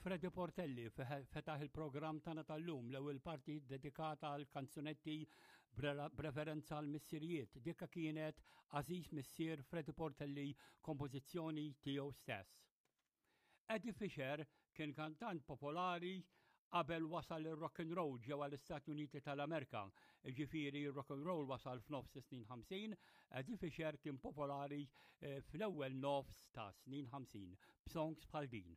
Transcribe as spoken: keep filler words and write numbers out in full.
Freddie Portelli fetaħ il-programm tagħna tal-lum, l-ewwel parti dedikata għal kanzunetti b'referenza għal missirijiet. Dikka kienet Għażiż Missier, Freddie Portelli, kompożizzjoni tiegħu stess. Eddie Fisher kien kantant popolari qabel wasal il-rock and roll ġewwa l-Istati Uniti tal-Amerika. Ġifieri il-rock and roll wasal f'nofs snin ħamsin, Eddie Fisher kien popolari eh, fl-ewwel nofs ta' snin ħamsin b'songs bħal din.